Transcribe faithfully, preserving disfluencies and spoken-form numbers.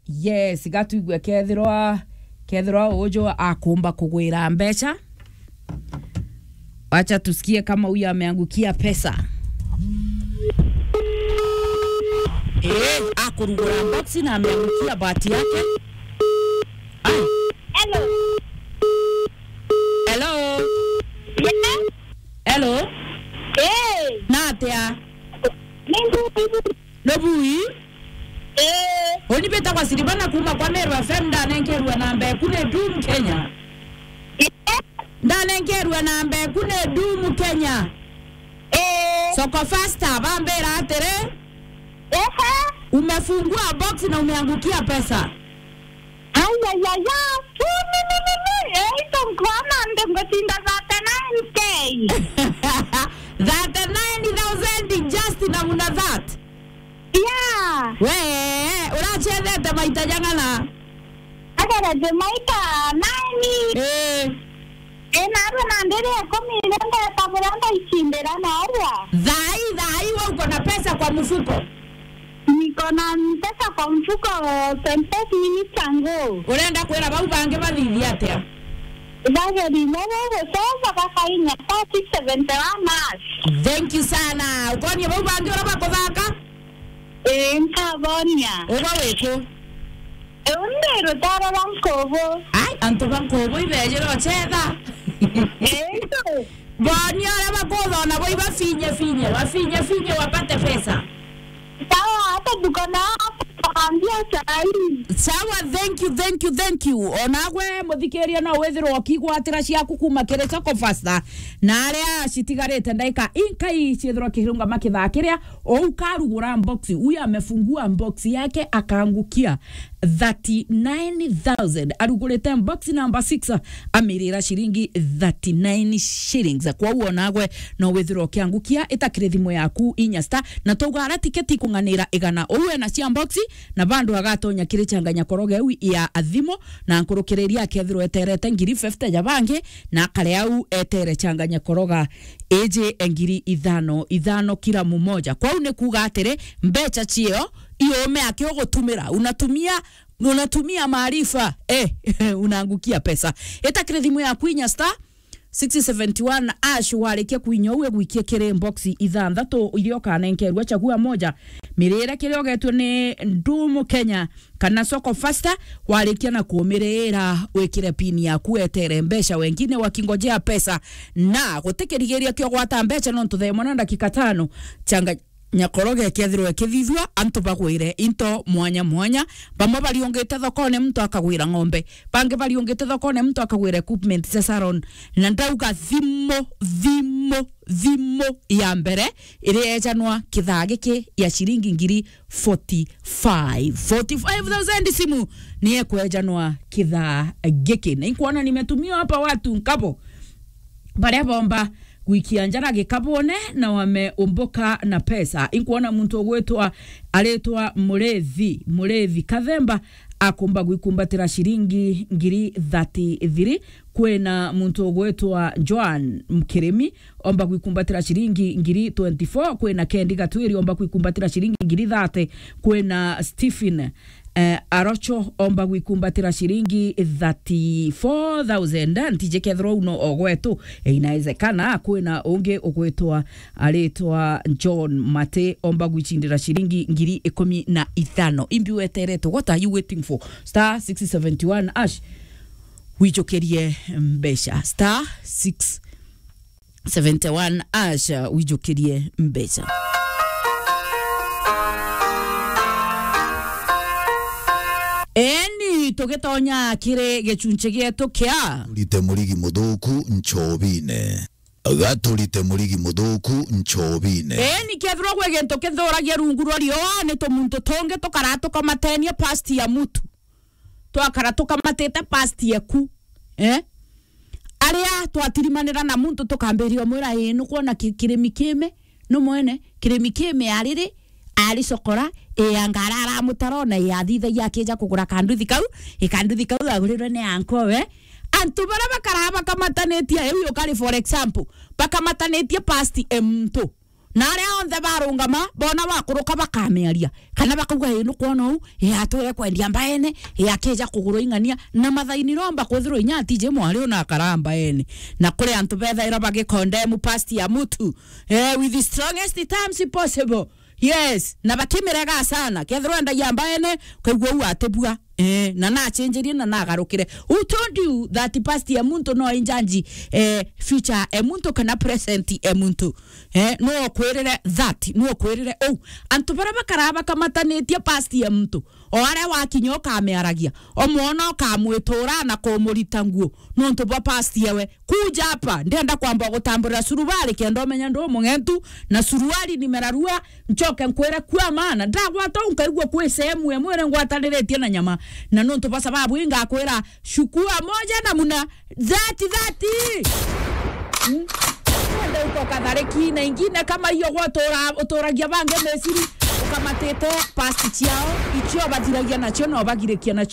Yes, gatuigue kethirwa, kethirwa uju akumba kugwira mbeca. Wacha tusikie kama huyu ameangukia pesa. Eh, akurugura box na ameangukia bahati yake. Ai. Hello. Hello. Yes. Hello. Eh. Natia. Ni mbubu. No bui? Eh. Uni bita kwa Siribana kuma kwa Meru F M, ndanenkerua namba eku ni Doom Kenya. Eh. Ndanenkerua namba eku ni Doom Kenya. Eh. Soko Fasta, bambira atiri, ehe, umefungua box na umeangukia pesa. Ayayaya. Ni, ni, ni, ni. Eh, ito nkwana nde ngotinda thirty-nine K. Thirty-nine thousand just namna that. Yeah. We, urachethete maita jang'ana? Agerete maita nine. Eh. Eh, narua na ndiri ikumi iria ndeta buria ndaicindira narua. Thai, thai, we uko na pesa kwa mfuko? Niko na pesa kwa mfuko twenty-five minutes ago. Urenda kwira bau bangi bathithie atia? Bageri nabo gucoka bakainya star six seventy-one hash. Thank you sana. Ukonie bau bangi uria bakuthaka? Ii, nkabonia. Uba wiku? Uu ndi rutaro rwa Nkubu. Ai, antu ba Nkubu ibejire uchetha. Ii. Bonia uria bakuthona bo ibafinye finye, bafinye finye wapate pesa. Sawa, hata tuko na hapa tukaambia sahi. Sawa, thank you, thank you, thank you. Onagwe muthikiria no withirwa ukigwatira ciaku kuma kiri Soko Fasta. Na aria citigarite ndaika inkai ciithirwa kihirunga makithaa kiria, ou karugura box, huyu amefungua box yake akaangukia thirty-nine thousand. Arugurite box number six, amirira ciringi thirty-nine shillings. Kwa uo nagwe no withirwa ukiangukia, itakire thimu yaku inya star, na twauga ara tiketi ikung'anira igana. Ou ena cia box, na bandu agatonya kiri changanya koroge iu ya thimu, na nkurukiriria akethirwa eterete ngiri fifty ja bangi, na akare au etere changanya koroga iji ngiri ithano, ithano kila mumoja. Kwou ni kuuga atiri, mbeca cio iume aki ugutumira, unatumia, unatumia maarifa, eh, unaangukia pesa. Itakire thimu yaku inya star six seventy-one hash, warikia kuinya u igwikie kiri box ithanthatu iria ukanenkerua, chagua moja. Mirire kiria ugetue ni Ndumu Kenya kana Soko Fasta, warikia na kumirira wikire pin yaku, etere mbeca wengine wakingojea pesa, na gutikirigiria kio gwata mbeca nontu thaa imwe na ndagika tano changa nyakoroge kethirwa kithithua, antu bagwire into mwanya mwanya. Bamwe bariungite thokone, muntu akagwira ng'ombe, bangi bariungite thokone, muntu akagwira equipment cia salon. Na ndauga thimu, thimu, thimu ya mbere iria ejanwa kithaa giki ya ciringi ngiri forty-five. Forty-five thousand simu ni ekwejanwa kithaa giki. Na inkuona nimetumiwa hapa watu nkabo baria bomba gwikia njara gikabune na wameumbuka na pesa. Inkuona muntu ugwitwa, aritwa Murethi, Murethi Kathemba, akumba gwikumbatira ciringi ngiri thirty-three. Kwina muntu ugwitwa Joan Mkirimi, omba gwikumbatira ciringi ngiri twenty-four. Kwina Kendi Gatwiri, omba gwikumbatira ciringi ngiri thirty. Kwina Stephen, eh, Arocho, omba gwikumbatira ciringi thirty-four thousand. Ntiji kethirwa uno o gwetu. Eh, inawezekana kwina ungi ugwitwa, aritwa John Mate, omba gwicindira ciringi ngiri ikumi na ithano. Imbi weterete? What are you waiting for? Star six seventy-one hash. Wijukirie mbeca. Star six seventy-one hash, wijukirie mbeca. Eni, tugitonya kiri gichunchi gietu kia Rite murigi muthuku nchobine. Gaturite murigi muthuku nchobine. Eni, kethirwa gwi gintu kithuragia rungu rwa riua, ni tumuntu tungi tukara tukamatenia past ya mutu. Twakara tukamatite past yeku. Eh? Aria twatirimanira na muntu tukambiria umwira, "Ii, nukwona ki-, kirimi kime?" Nu mwene, kirimi kime ariri, ari cokora, ii, anga ara aramutara ona, ii, athithagia akija kugura kanduthi kau, ii, kanduthi kau agurirwe ni ankowe. Antu baria bakara bakamatanitie, iu ukari for example, bakamatanitie past e muntu. Na aria onthe barungama, bona wakuruka bakamiaria. Kana bakauga, "Ii, nukwona uu, ii, atwire kwendia mbaene, ii, akija kugurwa ing'ania." Na mathaini romba kwithirwa inya atiji mwari una akara mbaene. Na kuri antu bethaira bagikondemu past ya mutu, eh, with the strongest terms possible. Yes, na bakimirega sana. Kethirwa endagia mbaene, ukaigua uu atibua. Eh, na nachenjerie na nagarukire. Who told you that past ya muntu no injanji, eh, future ya muntu kana present ya muntu? Eh, no kwirire that, no kwirire uu. Antu baria bakaraa bakamatanitie past ya muntu. O aria wakinya ukamiaragia. O mwana ukamwitura na kumurita nguo. Nontu bwa past yewe. Kuja hapa, ndenda kwamba gutamburira suruari kenda umenya ndu mung'entu, na suruari nimerarua, nchoke nkwire kua maana. Ndagwata u nkaigua kwi sehemu ya mwiri ngwataniritie na nyama. Na nontu bwa sababu ii ngakwira, chukua moja na muna thati, thati. Hmm? Wende uko kathariki na ingine kama hiyo gwatura, uturagia bangi Misiri, ukamatite past ciao, icio bathiragia nacio na ubagirikia nacio.